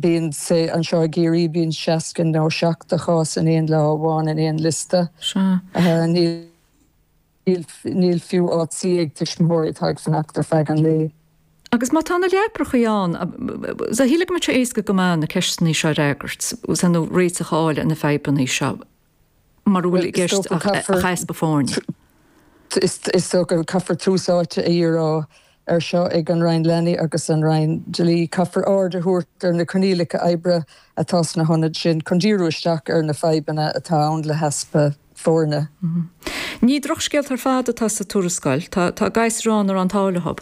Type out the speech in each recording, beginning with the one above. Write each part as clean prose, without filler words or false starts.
Bíonn, say, anseo i gCiarraí, bíonn 60 nó 70 chás in aon lá amháin in aon liosta. Níl, níl fiú áit suí ag tuismitheoirí atá ag fanacht ar feadh an lae. Agus má tá na leaprachaí ann, shílfeá go mbeadh sé éasca go maith na ceisteanna seo a fhreagairt, nó réiteach a fháil ar na fadhbanna seo. Mura bhfuil i gceist ach easpa foirne. Is dócha go caithfear tús áite a dhíriú air seo ag an Roinn Leanaí agus an Roinn Dlí. Caithfear aird a thabhairt ar na coinníollacha oibre atá sna hionaid sin chun díriú isteach ar na fadhbanna atá ann le heaspa foirne. Ní drochscéalta ar fad atá sa tuarascáil. Tá gasúir ann a raibh an t-ádh leo.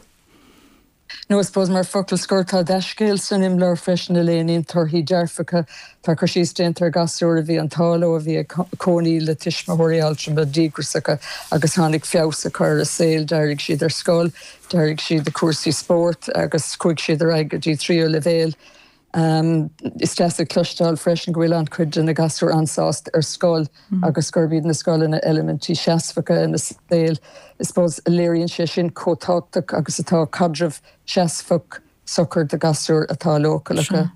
No, I suppose mar focal scoir, tá dea-scéal san imleabhar freisin a léiríonn torthaí dearfacha. Tá cur síos déanta ar ghasúir a bhí an t-ádh leo, a bhí ag cónaí le tuismitheoirí altrama díograsacha agus tháinig feabhas a chur ar a saol. D'éirigh siad ar scoil, d'éirigh siad i cúrsaí spóirt agus chuaigh siad ar aghaidh go dtí tríú leibhéal. Is deas a chloisteáil freisin go bhfuil an-chuid de na gasúir an-sásta ar scoil agus gurb iad na scoileanna eilimintí seasmhacha ina saol. I suppose léiríonn sé sin chomh tábhachtach agus atá caidreamh seasmhach socair do ghasúir atá leochaileacha.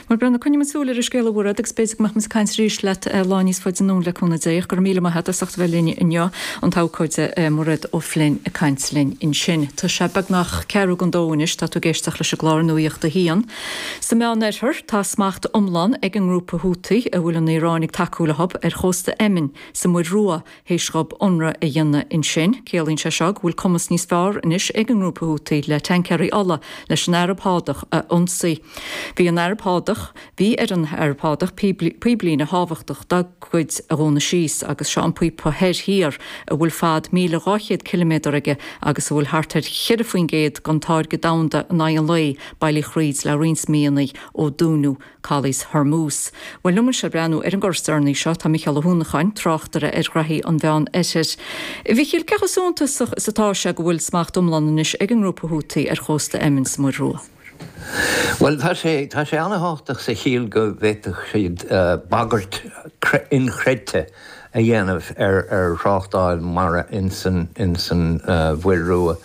Bhuel, Brendan, coinneoidh muid súil ar an scéal a Mhairéad agus b'fhéidir go mbeadh muid ag caint arís leat lá níos faide anonn le cúnamh Dé. Ach go raibh míle maith agat as ucht a bheith linn inniu, an t-abhcóide Mairéad O'Flynn ag caint linn ansin. Tá sé beagnach ceathrú don dó anois, tá tú ag éisteacht leis an gclár Nuacht a hAon. Sa Meánoirthear, tá smacht iomlán ag an ngrúpa Houthi, a bhfuil an Iaráin ag tacú leo, ar chósta Eiminn sa Mhuir Rua, théis dhóibh ionradh a dhéanamh ansin. Ciallaíonn sé seo go bhfuil cumas níos fearr anois ag an ngrúpa Houthi le tancaeirí ola leis an Araib Shádach a ionsaí. Bhí an Araib Shádach Bhí ar an Araib Shádach píblíne thábhachtach dá gcuid a dhúnadh síos agus seo an píopa thoir-thiar a bhfuil fad 1,200 ciliméadar aige agus a bhfuil thart ar 4% den táirgeadh domhanda in aghaidh an lae bailí thríd le roinnt míonna ó dúnadh Caolas Hormuz. Bhuel, liom anseo ag breathnú ar an gcor is deireanaí seo tá Micheál Ó hUanacháin, tráchtaire ar ghraithí an Mheán Oirthir. A Mhichíl, cé chomh suntasach is atá sé go bhfuil smacht iomlán anois ag an ngrúpa Houthi ar chósta Eiminn sa Mhuir Rua? Bhuel, tá sé, tá sé an-thábhachtach sa chiall go bhféadfadh siad bagairt inchreidte a dhéanamh ar ar thráchtáil mara insan insan Mhuir Rua.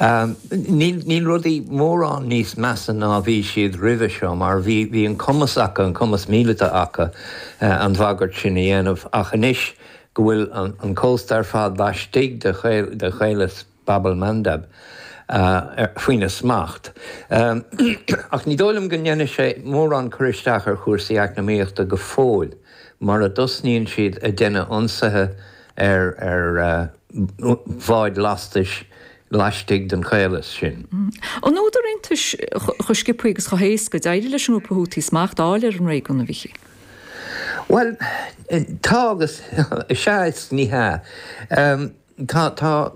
Níl níl rudaí mórán níos measa ná bhí siad roimhe seo mar bhí bhí an cumas acu, an cumas míleata acu an bhagairt sin a dhéanamh ach anois go bhfuil an an cósta ar fad laistigh de de chaolas Bab el-Mandeb faoina smacht. Ach ní dóigh liom go ndéanfaidh sé mórán cur isteach ar chúrsaí eacnamaíochta go fóill mura dtosnaíonn siad ag déanamh ionsaithe ar ar bháid lastais laistigh den chaolas sin. An údar iontais chomh sciobtha agus chomh héasca d'éirigh leis an ngrúpa Houthi smacht a fháil ar an réigiún, a Mhichíl? Bhuel, tá agus is ea is ní hea. Tá tá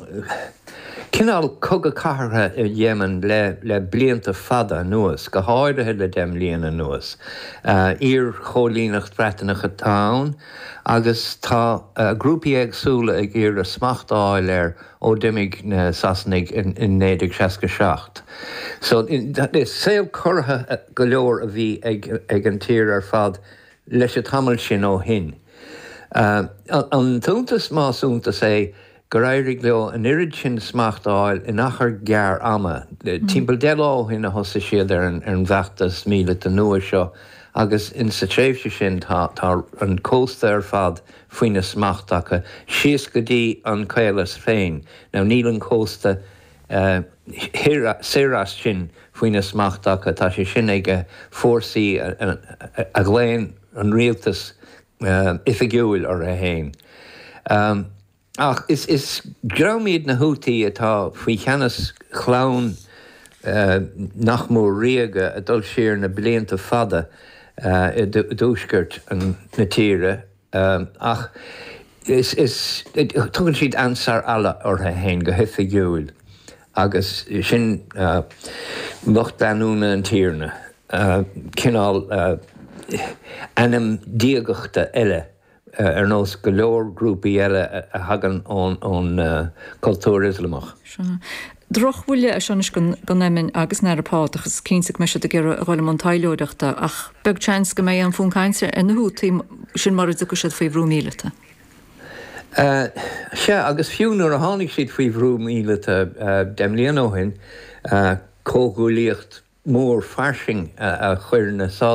cineál cogadh cathartha i Yemen le le blianta fada anuas, go háirithe le 10 mbliana anuas. Iar-choilíneacht Bhreataineach atá ann agus tá grúpaí éagsúla ag iarraidh smacht a fháil air ó d'imigh na Sasanaigh in 1967. So is saol corraithe go leor a bhí ag ag an tír ar fad leis an tamall sin ó shin. An t-iontas, más iontas é, gur éirigh leo an oiread sin smacht a fháil in achar gearr ama. Timpeall 10 lá ó shin a thosaigh siad ar an bhfeachtas míleata nua seo agus in sa tréimhse sin tá an cósta ar fad faoina smacht acu, síos go dtí an caolas féin. Now níl an cósta thoir soir as sin faoina smacht acu, tá sé sin ag fórsaí a ghlaonn an rialtas oifigiúil orthu féin. Ach is dream iad na Houthi atá faoi cheannas chlann nach mór ríoga a d'fhás siar na blianta fada i dtuaisceart na tíre. Ach is, is, tugann siad Ansar Allah orthu féin go hoifigiúil agus sin lucht leanúna an Tiarna, cineál ainm diagachta eile ar nós go leor grúpaí eile a thagann ón gcultúr Ioslamach. Sea. Drochbhuille é seo anois don Eiminn agus an Araib Shádach. Is cinnte go mbeidh siad ag iarraidh a dhul i mbun taidhleoireachta, ach beag seans go mbeidh aon fhonn cainte ar na Houthi, sin mura dtiocfaidh siad faoi bhrú míleata. Sea, agus fiú nuair a tháinig siad faoi bhrú míleata 10 mbliana ó shin, comhghuaillíocht. mór fairsing a chuir na Sádaigh.